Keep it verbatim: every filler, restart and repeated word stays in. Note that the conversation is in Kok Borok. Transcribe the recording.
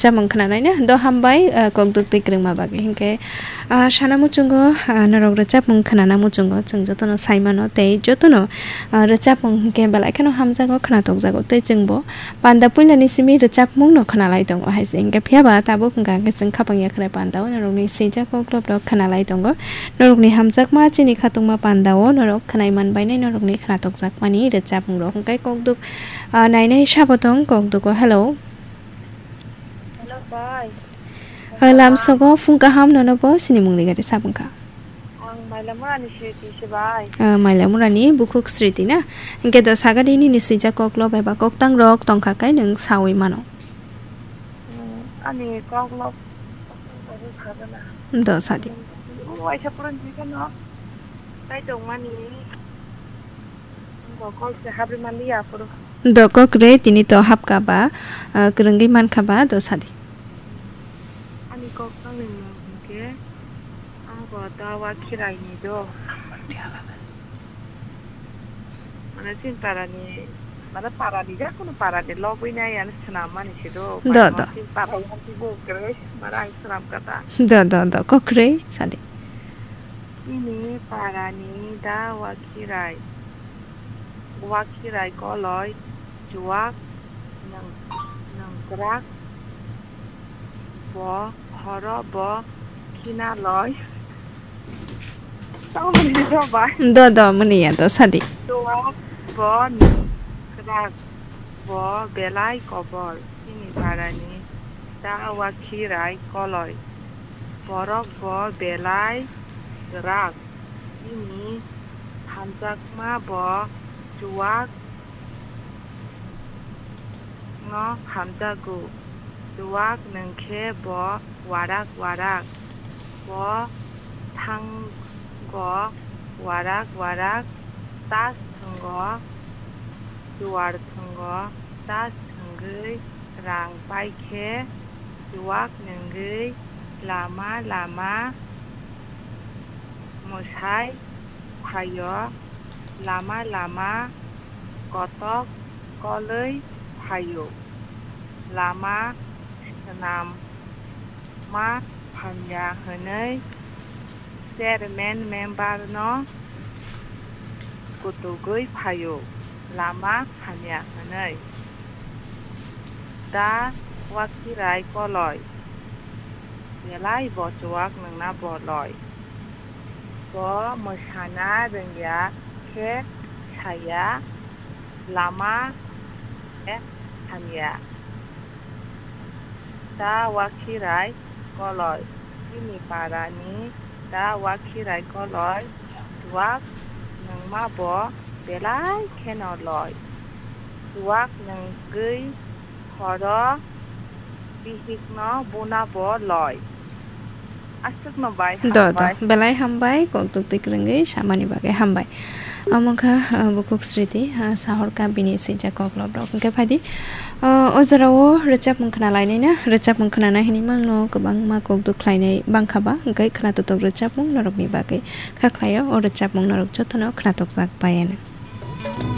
Rwchapmung khwnanaina do hambai, ah, kokduk twi kwrwngma bagwi. Hinkhe, ah, sana muchungo, ah, norok rwchapmung khwnana muchungo, chwng jotono saimano tei jotono, ah, rwchapmung hinkhe belai kheno hamjago, khwnatokjago tei chwngbo panda puilani simi rwchapmungno khwnalai tongo hai se. Hinkhe phiyaba tabuk wngkha hinkhe chwng khapang yakhrai pandao norokni swijak koklop rok khwnalai tongo. Norokni hamjakma chini khatungma pandao norok khwnai manbainai norokni khwnatokjakmani rwchapmung rok. Hinkhe kokduk, ah, nainai sabo tong kokdugo. Hello. Hello, bai. Lamsogo phung kaham nono bo sinimung rigari sabwngkha. Ang Mailamurani Sriti se, bai. Ah, Mailamurani bukhuk Sriti na? Hinkhe do sagadi nini swijak koklo beba koktang rok tongkha kai nwng sawi mano. Hmm, ani koklo. Do sadi. O, waisa purun jikano. Tai tongmani. Bo kok se habri mali ya puro. Do kok re tini to hapka ba, ah, kwrwngwi mankha ba do sadi. Ani kok tangni mung hinkhe ang bo dawa khirai ni do. Mane chini parani, mane parani ja kunu parani logwi nai ani swnam mani se do. Do, do. Chini para yang ti bo kwrwi mane ang swnam kata. Do, do, do, kok re sadi. Ini parani da wakhirai, wakhirai koloi chuwak nang-, nangkrak bo horo bo khinaloi. Tamo ni do bai. Do, do, muni ya do sadi. Chuwak bo nangkrak bo belai kobor. Ini parani da wakhirai koloi. Borok bo belai kwrak, bini hamjakma bo chuwak no hamjago, chuwak nwngkhe bo warak warak, bo thango warak warak, tas thwngo, chuwar thwngo, tas thwngwi rang paikhe, chuwak nwngwi lama lama mwsai phaio, lama lama kotok kolwi phaio, lama swnam ma hamya hwnwi chairman member no kutugwi phaio, lama hamya hwnwi. Da wakhirai koloi, belai bo chuwak nwngna boloi. Bo mwsana rwngya khe saya, lama khe hamya. Da wakhirai koloi, bini parani da wakhirai koloi, chuwak nwngma bo belai kheno loi. Chuwak nwngwi horo bihikno buna bo loi. Aswkno bai. Do, do. Hambai. Belai hambai, kok tuk twi kwrwngwi samani bagwi hambai. Omo wngkha, ah, bukhuk Sriti, ah, sahorka bini swijak koklop rok. Hwnkhe phaidi, ah, o jorao rwchapmung khna lainai na, rwchapmung khnana hinwi mangno kwbangma kok duk khlainai bangkha ba, hwnkhe khna totok rwchapmung norokni bagwi kha khlaio, o rwchapmung norok jotono khna tokjak bai ano.